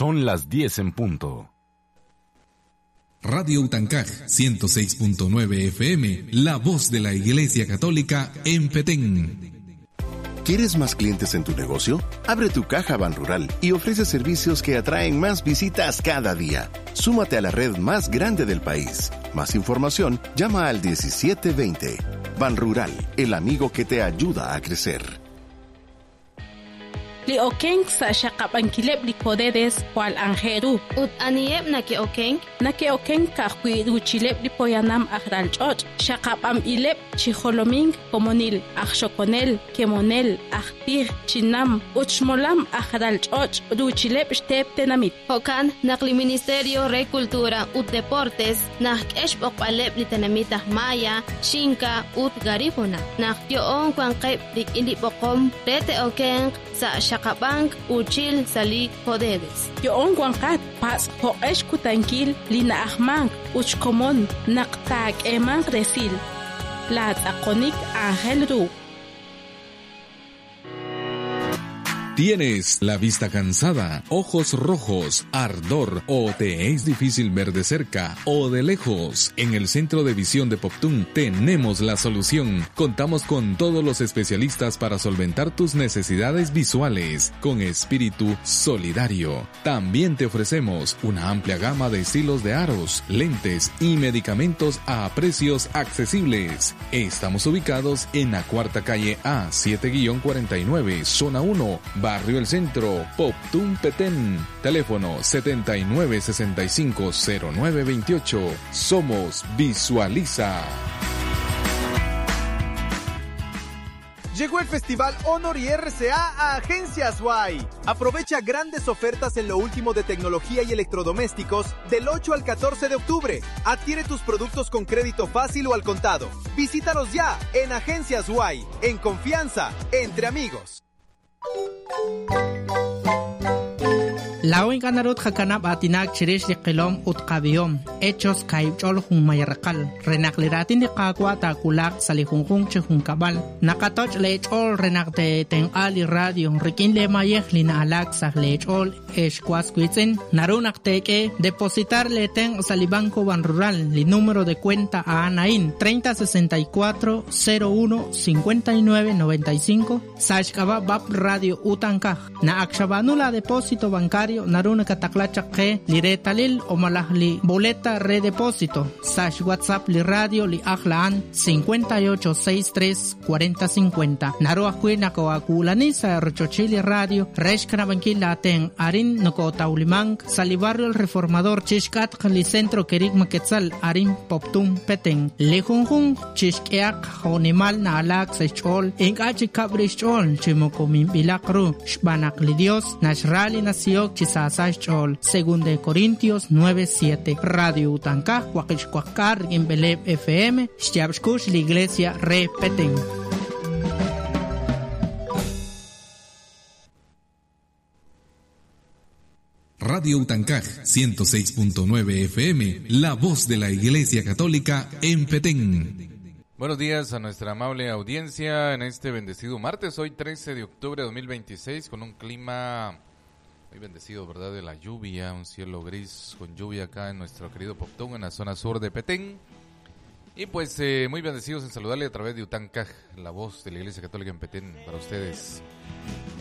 Son las 10 en punto. Radio Utancaj 106.9 FM, la voz de la Iglesia Católica en Petén. ¿Quieres más clientes en tu negocio? Abre tu caja Banrural y ofrece servicios que atraen más visitas cada día. Súmate a la red más grande del país. Más información, llama al 1720. Banrural, el amigo que te ayuda a crecer. Li okenk sa' xaqab'ankileb' li Codedes jwal anjel ru. Ut aniheb' nake'okenk? Nake'okenk ka'ajwi' ruuchileb' li poyanam aj ralch'och', xaqab'anb'ileb' chi jolomink komonil, aj xokonel, kemonel, aj tij, chinam ut xmolam aj ralch'och' ruuchileb' xteep tenamit. Jo'kan naq li Ministerio re Cultura ut Deportes naxk'e xb'oqb'aleb' li tenamit aj Maya, Xinka ut Garífuna naq yo'on wanqeb' rik'in li b'oqom re te'okenq sa' xaqab'ank uuchil sa' li Codedes. Yo'on wanqat patz' jo'q'e xkutankil li na'ajmank ut xkomon naq taak'eemanq resil. Laatz'aqonik aajel ru. ¿Tienes la vista cansada, ojos rojos, ardor o te es difícil ver de cerca o de lejos? En el Centro de Visión de Poptún tenemos la solución. Contamos con todos los especialistas para solventar tus necesidades visuales con espíritu solidario. También te ofrecemos una amplia gama de estilos de aros, lentes y medicamentos a precios accesibles. Estamos ubicados en la cuarta calle A 7-49, zona 1, Barrio El Centro, Poptún Petén. Teléfono 79650928. Somos Visualiza. Llegó el Festival Honor y RCA a Agencias Y. Aprovecha grandes ofertas en lo último de tecnología y electrodomésticos del 8 al 14 de octubre. Adquiere tus productos con crédito fácil o al contado. Visítanos ya en Agencias Y, en confianza, entre amigos. Laa'o ink'a' naru tqakanab' aatinak chirix li qilom ut qab'ihom, Hechos kaahib' ch'ol junmayaraqal, re naq li raatin li Qaawa' taawulaq sa' li junjunq chi junkab'al. Naqatoch' leech'ool re naq teetenq'a li radio rik'in leemayej li na'alaak sa' leech'ool ex was wiitz'in. Naru naq teek'e depositar leetenq' sa' li Banco Banrural, li número de cuenta a'an a'in 3064 01 59 95 sa' xk'ab'a' BAP Radio Utankaj. Naq ak xab'aanu la depósito bancario naru nakataqla chaq qe li reetalil o malaj li boleta re depósito sa' xWhatsApp li radio li ajl a'an 58 63 40 50. Naru ajwi' nakoo'akuulani sa' rochochil li radio re xkanab'ankil laatenq' arin nokootawlimank sa' li barrio El Reformador chixk'atq li Centro Kerigma Quetzal arin Poptún Petén. Li junjunq chixk'ehaq jo'nimal na'alaak sa' xch'ool ink'a' chi kab' rix xch'ool chi moko minb'ilaq ru xb'aan naq li Dios naxra li nasihok chi saasa xch'ool. Según de Corintios 9:7. Radio Utankaj waqib' xwaqk'aal rik'in b'eleeb' FM xyaab' xkux li Iglesia re Petén. Radio Utancaj 106.9 FM, la voz de la Iglesia Católica en Petén. Buenos días a nuestra amable audiencia en este bendecido martes, hoy 13 de octubre de 2026, con un clima muy bendecido, ¿verdad? De la lluvia, un cielo gris con lluvia acá en nuestro querido Poptún, en la zona sur de Petén. Y pues muy bendecidos en saludarle a través de Utancaj, la voz de la Iglesia Católica en Petén, para ustedes.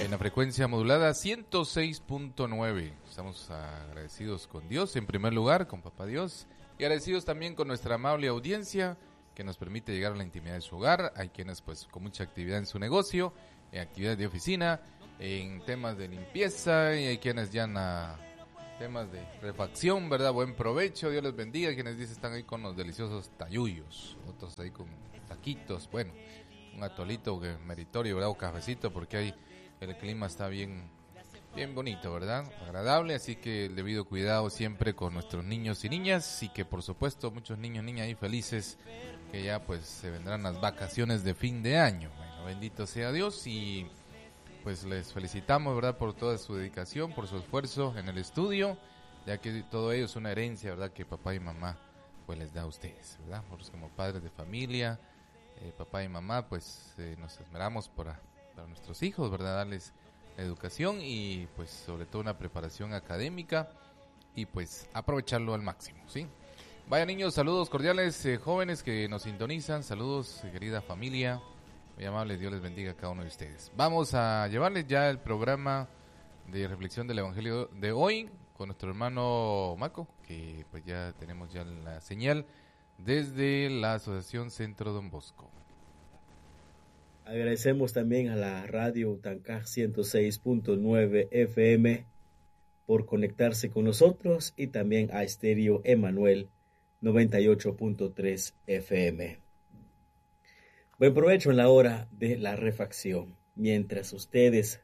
En la frecuencia modulada 106.9. Estamos agradecidos con Dios, en primer lugar, con Papá Dios, y agradecidos también con nuestra amable audiencia que nos permite llegar a la intimidad de su hogar. Hay quienes pues con mucha actividad en su negocio, en actividades de oficina, en temas de limpieza, y hay quienes ya en temas de refacción, ¿verdad? Buen provecho, Dios les bendiga. Quienes dicen están ahí con los deliciosos tayuyos, otros ahí con taquitos, bueno, un atolito que meritorio, ¿verdad? O cafecito, porque ahí el clima está bien, bien bonito, ¿verdad? Agradable, así que el debido cuidado siempre con nuestros niños y niñas, y que por supuesto muchos niños y niñas ahí felices, que ya pues se vendrán las vacaciones de fin de año. Bueno, bendito sea Dios y pues les felicitamos, ¿verdad?, por toda su dedicación, por su esfuerzo en el estudio, ya que todo ello es una herencia, ¿verdad?, que papá y mamá pues les da a ustedes, ¿verdad? Nosotros como padres de familia, papá y mamá, pues nos esmeramos para nuestros hijos, ¿verdad?, darles educación y pues sobre todo una preparación académica y pues aprovecharlo al máximo, ¿sí? Vaya niños, saludos cordiales, jóvenes que nos sintonizan, saludos querida familia, muy amables, Dios les bendiga a cada uno de ustedes. Vamos a llevarles ya el programa de reflexión del Evangelio de hoy con nuestro hermano Maco, que pues ya tenemos ya la señal desde la Asociación Centro Don Bosco. Agradecemos también a la radio Tancaj 106.9 FM por conectarse con nosotros y también a Estéreo Emanuel 98.3 FM. Buen provecho en la hora de la refacción. Mientras ustedes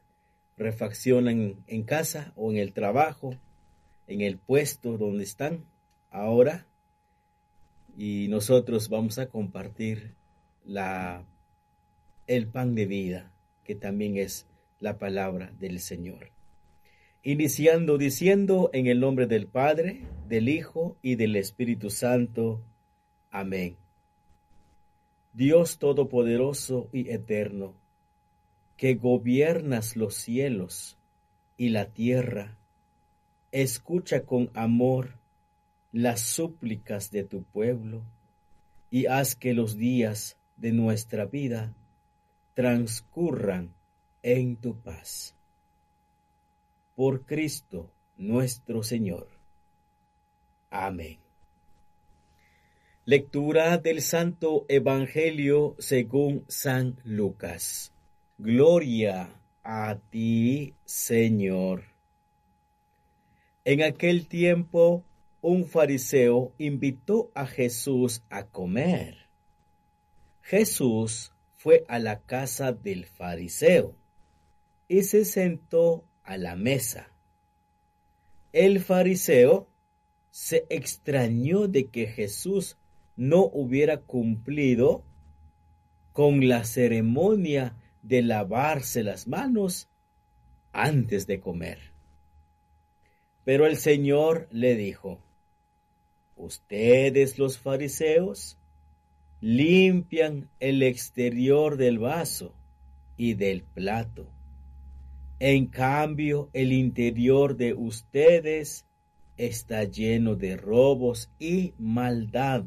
refaccionan en casa o en el trabajo, en el puesto donde están ahora, y nosotros vamos a compartir el pan de vida, que también es la palabra del Señor. Iniciando diciendo en el nombre del Padre, del Hijo y del Espíritu Santo. Amén. Dios Todopoderoso y Eterno, que gobiernas los cielos y la tierra, escucha con amor las súplicas de tu pueblo y haz que los días de nuestra vida transcurran en tu paz. Por Cristo nuestro Señor. Amén. Lectura del Santo Evangelio según San Lucas. Gloria a ti, Señor. En aquel tiempo, un fariseo invitó a Jesús a comer. Jesús fue a la casa del fariseo y se sentó a la mesa. El fariseo se extrañó de que Jesús no hubiera cumplido con la ceremonia de lavarse las manos antes de comer. Pero el Señor le dijo: Ustedes los fariseos limpian el exterior del vaso y del plato. En cambio, el interior de ustedes está lleno de robos y maldad.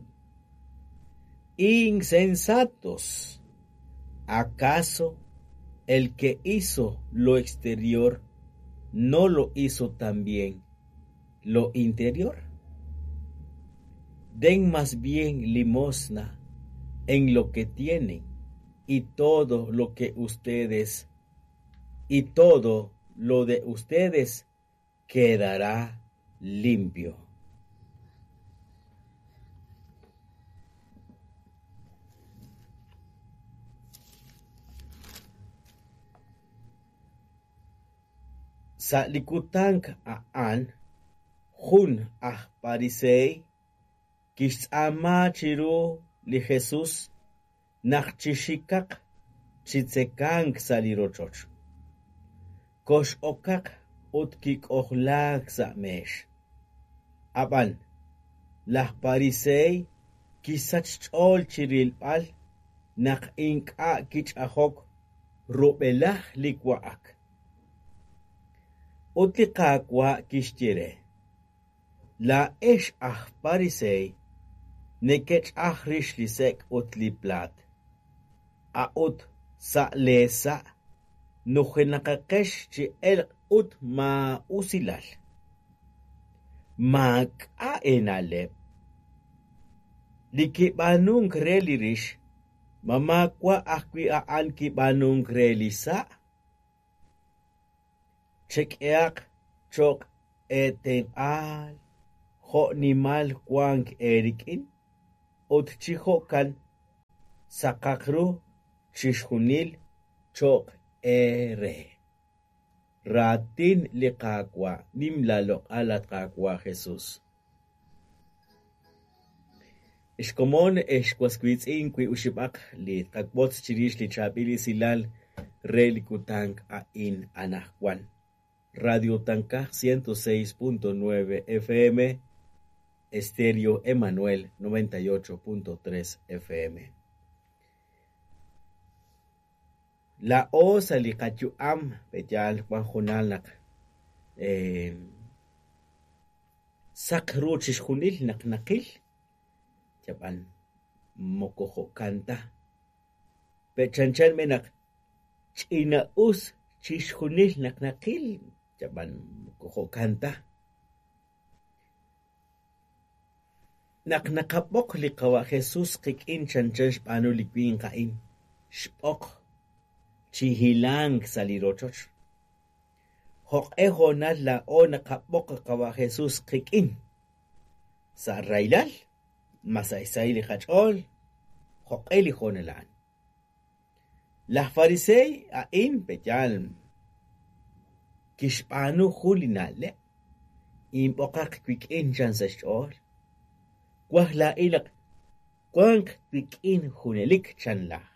Insensatos, ¿acaso el que hizo lo exterior no lo hizo también lo interior? Den más bien limosna en lo que tienen, y todo lo que ustedes, y todo lo de ustedes quedará limpio. Sa likutank a'an jun aj parisey kixtz'aama chiru li Jesus naq chixikaq chitzekank sa' li rochoch. Kox'okaq ut kik'ojlaak sa' meex. Ab'an laj parisey kisach xch'ool chirilb'al naq ink'a' kich'ajok rub'elaj li wa'ak. Ut li Qaawa' kixye re: Laa'ex aj parisey nekech'aj rix li sek' ut li plaat, a'ut sa' leesa' nujenaqaqex chi elq' ut maa'usilal. Maak'a' eena'leb'. Li kib'aanunk re li rix, ma maawa' ajwi' a'an kib'aanunk re li sa'? Chek'ehaq cho'q eetenq'aal jo' nimal wank eerik'in, ut chi jo'kan saqaq ru chixjunil cho'q eere. Raatin li Qaawa', nim laaloq'al at Qaawa' Jesus. Xkomon exwaswitz'in wi uxib'aq li qakb'otz chirix li chaab'il esilal re li kutank a'in anajwan. Radio Tancaj 106.9 FM, Estéreo Emanuel 98.3 FM. Laa'o sa' li qayu'am pe'yaal wan junal naq saq ru chixjunil naq naqil yab'an moko jo'kan ta pe' chanchan b'i naq ch'ina'us chixjunil naq naqil yab'an moko jo'kan ta. Naq naqab'oq li qawa' Jesús qik'in chanchan xb'aanu li winq a'in xb'oq chi hilank sa' li rochoch. Jo'q'e hoonal laa'o naqab'oq qawa' Jesús qik'in sa' rahilal ma sa' xsahil li qach'ool jo'q'e li hoonal a'an. Laj farisey a'in pe'yaal kixb'aanu jun li na'leb' inb'oqaq wik'in chan sa' xch'ool. Waj laa'in naq wanq wik'in junelik chan laj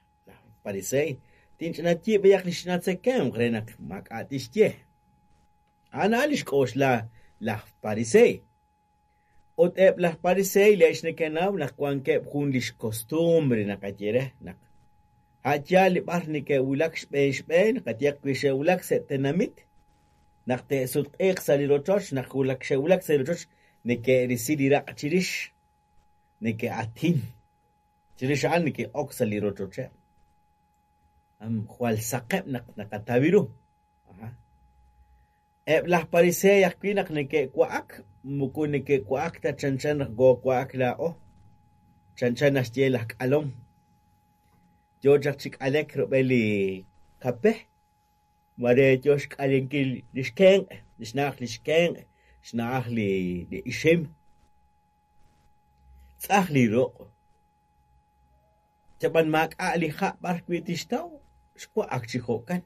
farisey tinch'inatyi b'ayaq li xnatzekemq re naq maak'a' tixye. A'an a'an li xk'oxla laj farisey. Ut eb' laj farisey le'x nekenaw naq wankeb' jun li xcostumbre naqaye re naq a'yaal li b'ar neke'wulak xb'een xb'een qayehaq wi xe'wulak sa' tenamit naq te'sutq'iiq sa' li rochoch naq wulak xe'wulak sa' li rochoch neke'risi li raq' chirix neke'atin chirix a'an neke'ok sa' li rochocheb'. Jwal saqeb' naq naqataw ru. Eb' laj farisey ajwi' naq neke'wa'ak moko neke'wa'ak ta chanchan naq koowa'ak laa'o chanchan naxye laj k'alom. Yo chaq chi k'alek rub'el li kape mare yo xk'alenkil li xkenq' li xna'aj li xkenq' xna'aj li ixim. Tz'aj li ruq'. Chab'an maak'a' li ha' b'ar wi' tixtaw xwa'ak chi jo'kan.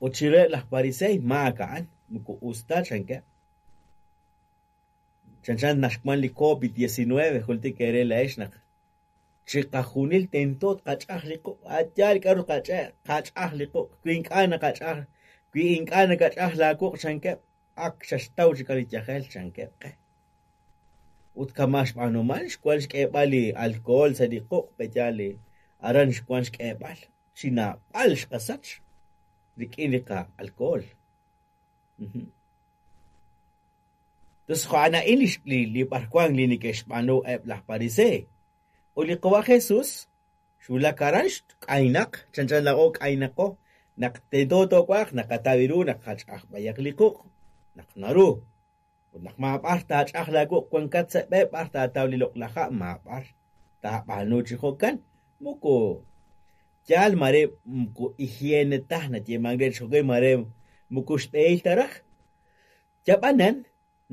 Ut chireheb' laj farisey maak a'an moko us ta chankeb'. Chanchan naxwan li COVID-19 jultik eere la'ex naq chiqajunil tento tqach'aj li quq' a'yaal k'aru qach'aj li quq' wi ink'a' naqach'aj wi ink'a' nakach'aj laaquq' chankeb' ak xaxtaw chik li yajel chankeb' qe. Ut kama' xb'aanuman xwan xk'eeb'al li alcohol sa' li quq' pe'yaal li aran xwan xk'eeb'al chi naab'al xqasach rik'in li qa-alcohol. Tos jo'an a'in li b'arwan li neke'xb'aanu eb' laj farisey. Ut li qawa' Jesús xwulak aran k'aynaq chanchan laa'o k'aynaqo naq tento toowa'aq naqataw ru naq qach'aj b'ayaq li quq' naq naru. Ut naq maab'ar taach'aj laaquq' wankat sa' b'e b'ar taataw li loq'laj ha' maab'ar taab'aanu chi jo'kan moko yaal mare moko higiene ta nayeeman re chi jo'kan mare moko xb'ehil ta raj. Yab'anan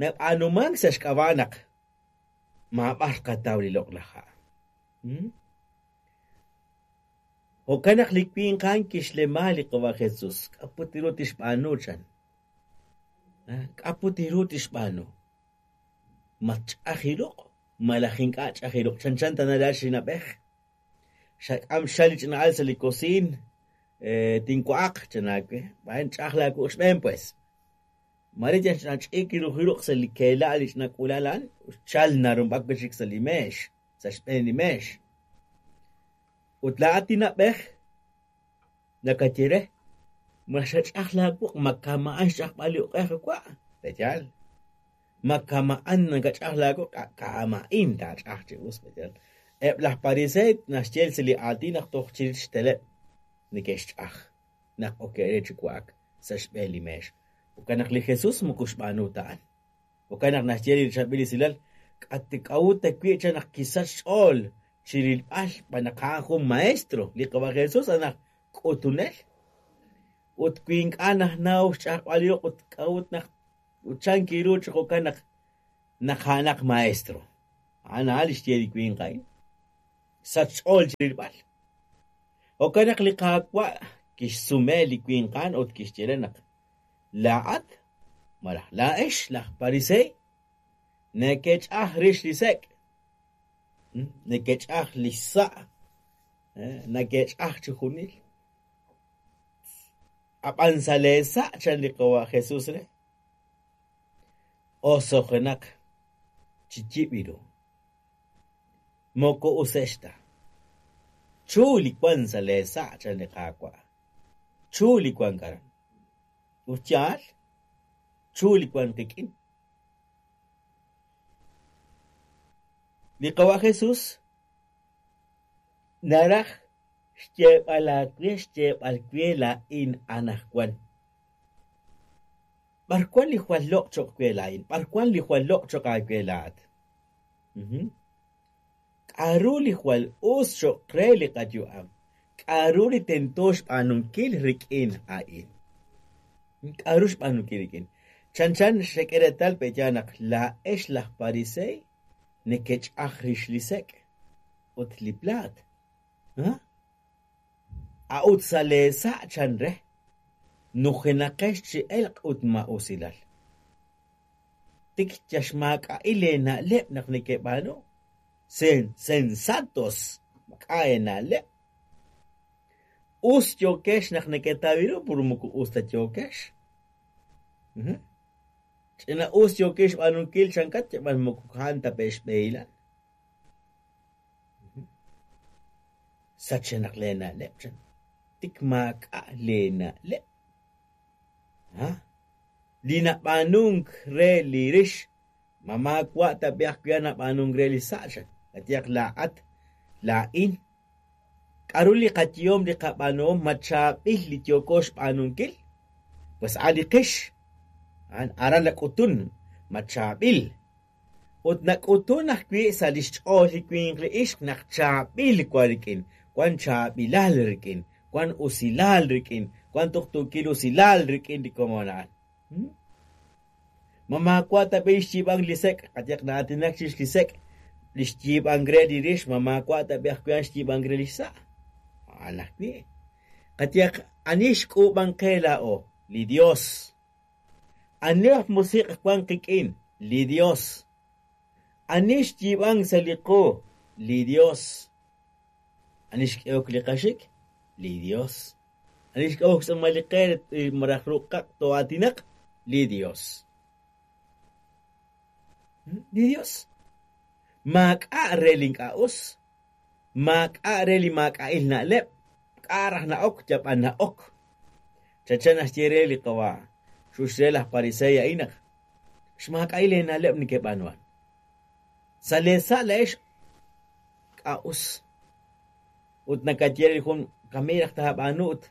nab'aanumank sa' xk'ab'a' naq maab'ar qataw li loq'laj ha'. Jo'kan naq li winq a'an kixlema li qawa' Jesús k'aput ru tixb'aanu chan. K'aput ru tixb'aanu. Ma ch'aj ruq' malaj ink'a' ch'aj ruq' chanchan tana laa'ex li na'b'ej. Xak'am xal li ch'ina'al sa' li kosiin tinwa'aq chan aawe. B'ayan ch'aj laaquq' xb'een pues. Mare yal ch'inach'ik ruq' sa' li keela' li ch'ina k'ulal a'an xchal narumb'ak wi' chik sa' li meex sa' xb'een li meex. Ut laa'at li na'b'ej nakaye re ma xach'aj laaquq' ma kama'an xch'ajb'al li uq'ej wa' pe'yaal. Ma kama'an nakach'aj laaquq' kama'in taach'aj chi us pe'yaal. Eb' laj farisey naxye sa' li aatin naq toj chirix xteleb' neke'xch'aj naq oke're chi wa'ak sa' xb'een li meex. Jo'kan naq li Jesús moko xb'aanu ta a'an. Jo'kan naq naxye li chaab'il esilal k'a'ut ta wi' chan naq kisach xch'ool chirilb'al xb'aan naq a'an jun maestro li qawa' Jesús a'an aj k'utunel. Ut wi ink'a' najnaw xch'ajb'al li ruq' ut k'a'ut naq chan kiru chi jo'kan naq naq a'anaq maestro. A'an a'an li xye li winq a'in. Sach xch'ool chirilb'al. Jo'kan naq li Qaawa' kixsume li winq a'an ut kixye re naq laa'at malaj laa'ex laj farisey neke'ch'aj rix li sek' neke'ch'aj li xsa' neke'ch'aj chi junil. Ab'an sa' leesa' chan li qawa' Jesús re osojenaq chi yib' ru. Moko usex ta. Chu li wan sa' leesa' chan li Qaawa'. Chu li wank aran. Ut yaal, chu li wank qik'in. Li Qawa' Jesús naraj xyeeb'al aawe xyeeb'al we laa'in anaqwan. B'ar wan li jwal loq' cho'q we laa'in? B'ar wan li jwal loq' cho'q aawe laa'at? K'a'ru li jwal us cho'q re li qayu'am? K'a'ru li tento xb'aanunkil rik'in a'in? K'a'ru xb'aanunkil rik'in? Chanchan xek'e reetal pe'ya naq laa'ex laj pariseey nekech'aj rix li sek' ut li plaat. A'ut sa' leesa' chan re, nujenaqex chi elq' ut ma'usilal. Tik yaxmaak'a'il eena'leb' naq nekeb'aanu. Sensatos maak'a' eena'leb'. Us yookex naq neketaw ru pur moko us ta yookex. Ch'ina us yookex xb'aanunkil chankat yab'an moko a'an ta pe' xb'ehilan. Sachenaq leena'leb' chan. Tik maak'a' leena'leb'. Li nab'aanunk re li rix ma maawa' ta be ajwi' nab'aanunk re li sa' chan. Qayehaq laa'at laa'in. K'a'ru li qayehom li qab'aanuhom ma chaab'il li yooko xb'aanunkil? Pues a' li qix. Aran nak'utun ma chaab'il. Ut nak'utun ajwi' sa' li xch'ool li winq li ixq naq chaab'il wan rik'in, wan chaab'ilal rik'in, wan usilal rik'in, wan tuqtuukil usilal rik'in li komon a'an. Ma maawa' ta b'i xyiib'ank li sek', qayehaq na'aatinak chirix li sek', li xyiib'ank re li rix, ma maawa' ta b'i ajwi' xyiib'ank re li xsa'. A'an ajwi'. Qayehaq ani xk'uub'ank qe laa'o? Li Dios. Ani aj musiq' wan qik'in? Li Dios. Ani xyiib'ank sa' li qu? Li Dios. Ani xk'ehok li qaxik? Li Dios. Ani xk'ehok xtz'uumal li qe malaj ruqaq to'aatinaq? Li Dios. Li Dios. Maak'a' re li ink'a' us. Maak'a' re li maak'a'il na'leb'. K'a' raj na'ok yab'an na'ok. Chanchan naxye re li Qawa' xux re laj pariseey a'in naq xmaak'a'il eena'leb' nekeb'aanuhan. Sa' leesa' la'ex k'a' us. Ut nakaye re li jun kami raj taab'aanu ut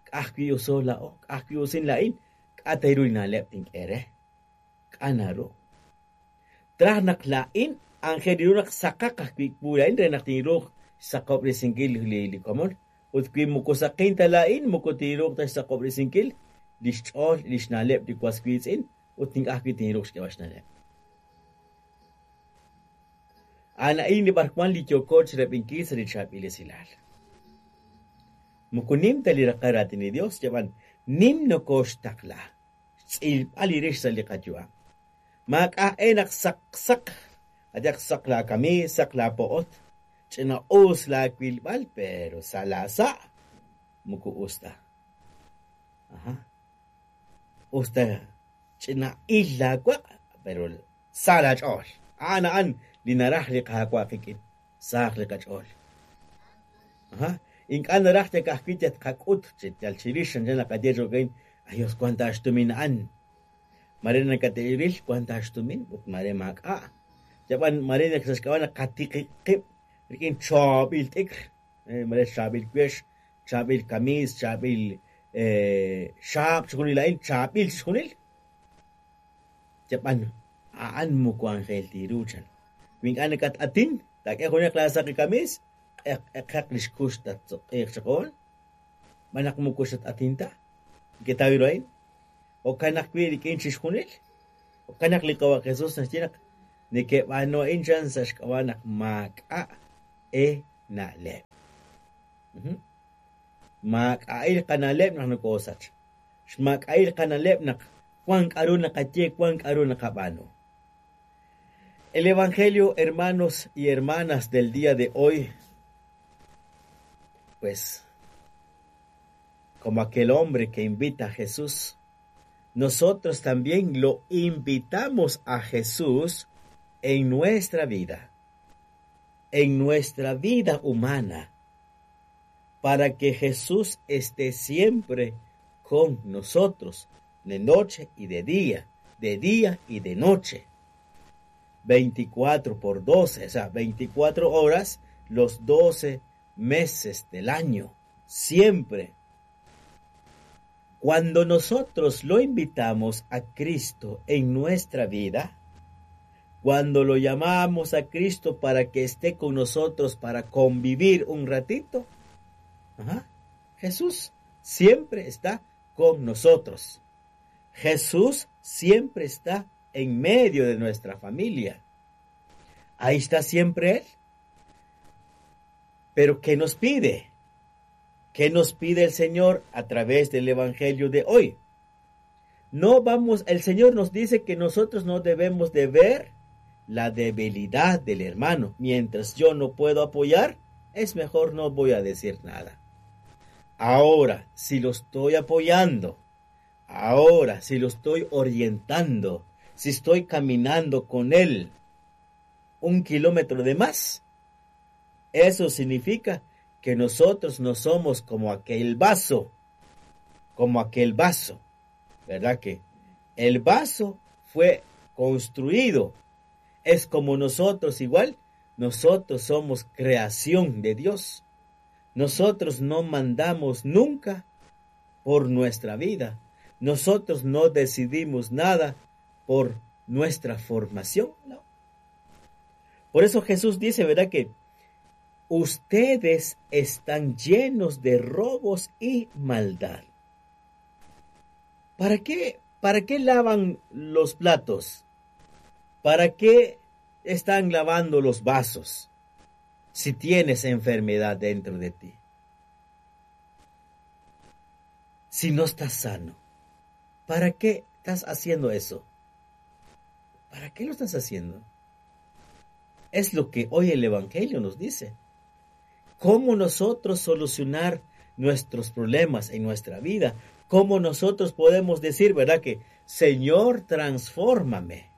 k'a'ajwi' uso laa'o, k'a'ajwi' usin laa'in, k'a' ta ru li na'leb' tink'e re. K'a' naru. Traj naq laa'in anjel ru naq saqaq ajwi' wu laa'in re naq tinruuq xsaqob'resinkil li komon. Ut wi moko saqin ta laa'in moko tinruuq ta xsaqob'resinkil li xch'ool li xna'leb' li was wiitz'in ut ink'a' ajwi' tinruuq xk'eeb'al xna'leb'. A'an a'in li b'arwan li yooko chirab'inkil sa' li chaab'il esilal. Moko nim ta li raqal raatin li Dios, yab'an nim nokoxtaqla xtz'ilb'al li rix sa' li qayu'am. Maak'a'e naq saq saq, ayaq saq la kamiis, saq la po'ot, ch'ina us la wilb'al, pero sa' la sa' moko us ta. Aha. Us ta ch'ina il la waq', pero sa' la ch'ool. A'an a'an li naraj li Qaawa' qik'in, saq li qach'ool. Aha. Ink'a' naraj yal ka'ajwi' yal tqak'ut yal chirix chanchan naqaye cho'qin, ayos wan ta xtumin a'an. Mare nakate'ril wan ta xtumin ut mare maak'a'. Yab'an mare naq sa' xk'ab'a' naq qatiqib' qib' rik'in chaab'il t'ikr, mare chaab'il wex, chaab'il kamiis, chaab'il xaab' chixjunil a'in, chaab'il chixjunil. Yab'an a'an moko anjel tiru chan. Wi ink'a' nakat'atin, taak'e junaq la saqi kamiis, q'eq q'eqaq li xkux tatsoq'iiq chaq'oon. Ma naq moko xat'atin ta. Neketaw ru a'in. Jo'kan ajwi' rik'in chixjunil. Jo'kan naq li Qawa' Jesús naxye naq nekeb'aanu a'in chan sa' xk'ab'a' naq maak'a' eena'leb'. Maak'a'il qana'leb' naq nokosach. Xmaak'a'il qana'leb' naq wan k'a'ru naqaye, wan k'a'ru naqab'aanu. El Evangelio, hermanos y hermanas del día de hoy, pues, como aquel hombre que invita a Jesús, nosotros también lo invitamos a Jesús en nuestra vida, en nuestra vida humana. Para que Jesús esté siempre con nosotros, de noche y de día, de día y de noche. 24 por 12, o sea, 24 horas los 12 meses del año, siempre. Cuando nosotros lo invitamos a Cristo en nuestra vida, cuando lo llamamos a Cristo para que esté con nosotros, para convivir un ratito, Jesús siempre está con nosotros. Jesús siempre está en medio de nuestra familia. Ahí está siempre Él. Pero ¿qué nos pide? ¿Qué nos pide el Señor a través del Evangelio de hoy? No vamos, el Señor nos dice que nosotros no debemos de ver la debilidad del hermano. Mientras yo no puedo apoyar, es mejor no voy a decir nada. Ahora, si lo estoy apoyando, ahora, si lo estoy orientando, si estoy caminando con él un kilómetro de más, eso significa que nosotros no somos como aquel vaso, ¿verdad que? El vaso fue construido, es como nosotros igual, nosotros somos creación de Dios. Nosotros no mandamos nunca por nuestra vida. Nosotros no decidimos nada por nuestra formación, no. Por eso Jesús dice, ¿verdad? Que ustedes están llenos de robos y maldad. ¿Para qué? ¿Para qué lavan los platos? ¿Para qué están lavando los vasos si tienes enfermedad dentro de ti? Si no estás sano, ¿para qué estás haciendo eso? ¿Para qué lo estás haciendo? Es lo que hoy el Evangelio nos dice. ¿Cómo nosotros solucionar nuestros problemas en nuestra vida? ¿Cómo nosotros podemos decir, verdad, que Señor, transfórmame?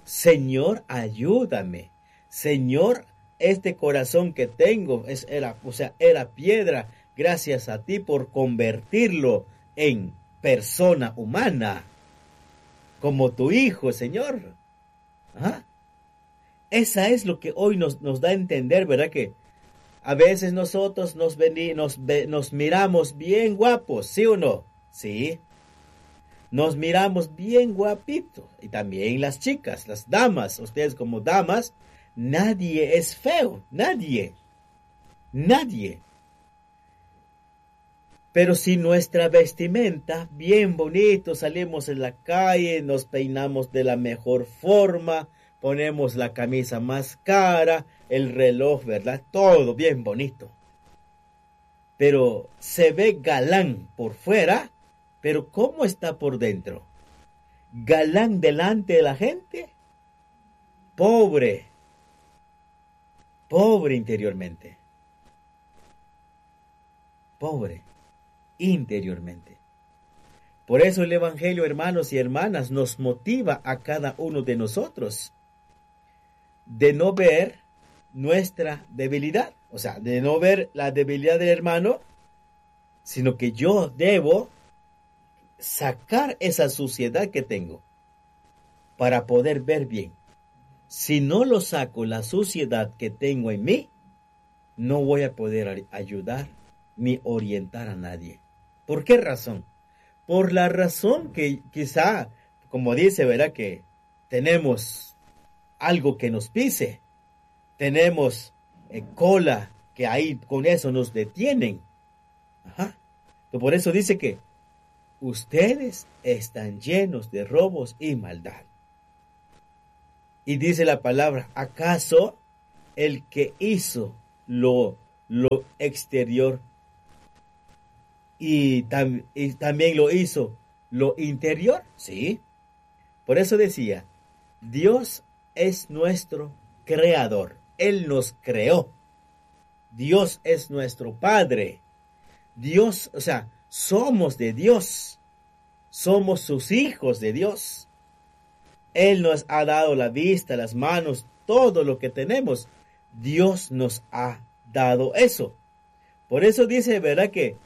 Señor, ayúdame. Señor, este corazón que tengo era piedra. Gracias a ti por convertirlo en persona humana, como tu hijo, Señor. ¿Ah? Esa es lo que hoy nos da a entender, ¿verdad? Que a veces nosotros nos miramos bien guapos, ¿sí o no? Sí. Nos miramos bien guapitos. Y también las chicas, las damas, ustedes como damas, nadie es feo, nadie. Nadie. Pero si nuestra vestimenta, bien bonito, salimos en la calle, nos peinamos de la mejor forma, ponemos la camisa más cara, el reloj, ¿verdad? Todo bien bonito. Pero se ve galán por fuera, pero ¿cómo está por dentro? ¿Galán delante de la gente? Pobre. Pobre interiormente. Pobre interiormente. Por eso el Evangelio, hermanos y hermanas, nos motiva a cada uno de nosotros de no ver nuestra debilidad, o sea, de no ver la debilidad del hermano, sino que yo debo sacar esa suciedad que tengo para poder ver bien. Si no lo saco, la suciedad que tengo en mí, no voy a poder ayudar ni orientar a nadie. ¿Por qué razón? Por la razón que quizá, como dice, ¿verdad? Que tenemos algo que nos pise, tenemos cola que ahí con eso nos detienen. Ajá. Por eso dice que ustedes están llenos de robos y maldad. Y dice la palabra, ¿acaso el que hizo lo exterior y también lo hizo lo interior? Sí. Por eso decía, Dios es nuestro creador. Él nos creó. Dios es nuestro Padre. Dios, o sea, somos de Dios. Somos sus hijos de Dios. Él nos ha dado la vista, las manos, todo lo que tenemos. Dios nos ha dado eso. Por eso dice, ¿verdad? Que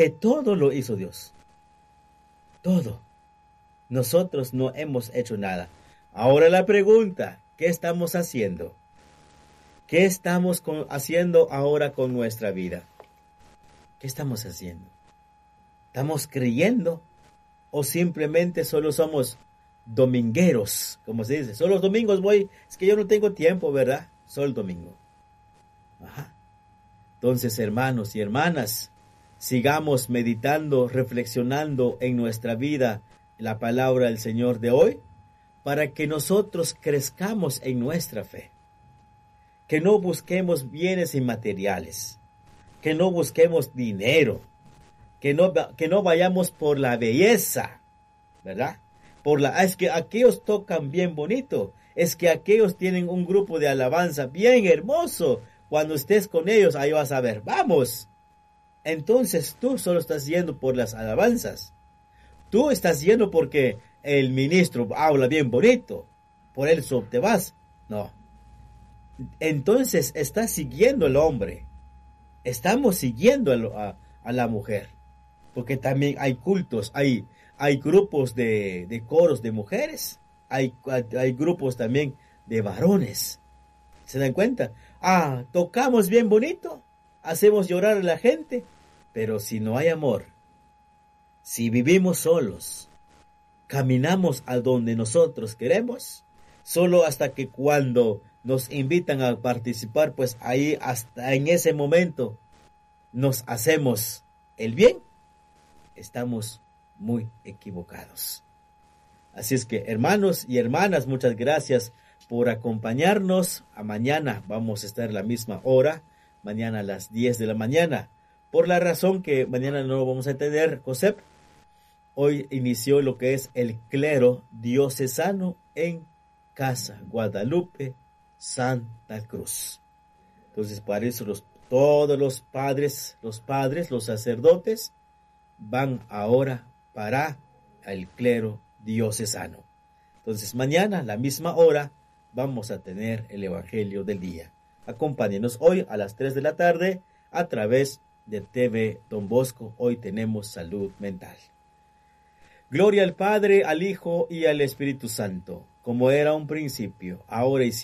todo lo hizo Dios. Todo. Nosotros no hemos hecho nada. Ahora la pregunta, ¿qué estamos haciendo? ¿Qué estamos haciendo ahora con nuestra vida? ¿Qué estamos haciendo? ¿Estamos creyendo o simplemente solo somos domingueros, como se dice? Solo los domingos voy, es que yo no tengo tiempo, ¿verdad? Solo el domingo. Ajá. Entonces, hermanos y hermanas, sigamos meditando, reflexionando en nuestra vida la palabra del Señor de hoy, para que nosotros crezcamos en nuestra fe. Que no busquemos bienes inmateriales, que no busquemos dinero, que no vayamos por la belleza, ¿verdad? Es que aquellos tocan bien bonito, es que aquellos tienen un grupo de alabanza bien hermoso. Cuando estés con ellos, ahí vas a ver, vamos. Entonces tú solo estás yendo por las alabanzas. Tú estás yendo porque el ministro habla bien bonito, por eso te vas. No. Entonces estás siguiendo al hombre. Estamos siguiendo a la mujer. Porque también hay cultos, hay grupos de coros de mujeres, hay grupos también de varones. ¿Se dan cuenta? Ah, tocamos bien bonito, hacemos llorar a la gente, pero si no hay amor, si vivimos solos, caminamos a donde nosotros queremos, solo hasta que cuando nos invitan a participar, pues ahí hasta en ese momento nos hacemos el bien, estamos muy equivocados. Así es que, hermanos y hermanas, muchas gracias por acompañarnos. A mañana vamos a estar a la misma hora, mañana a las 10 de la mañana. Por la razón que mañana no vamos a tener COSEP, hoy inició lo que es el clero diocesano en Casa Guadalupe, Santa Cruz. Entonces, para eso todos los padres, los sacerdotes, van ahora para el clero diocesano. Entonces, mañana, a la misma hora, vamos a tener el Evangelio del Día. Acompáñenos hoy a las 3 de la tarde a través de TV Don Bosco. Hoy tenemos salud mental. Gloria al Padre, al Hijo y al Espíritu Santo, como era un principio, ahora y siempre.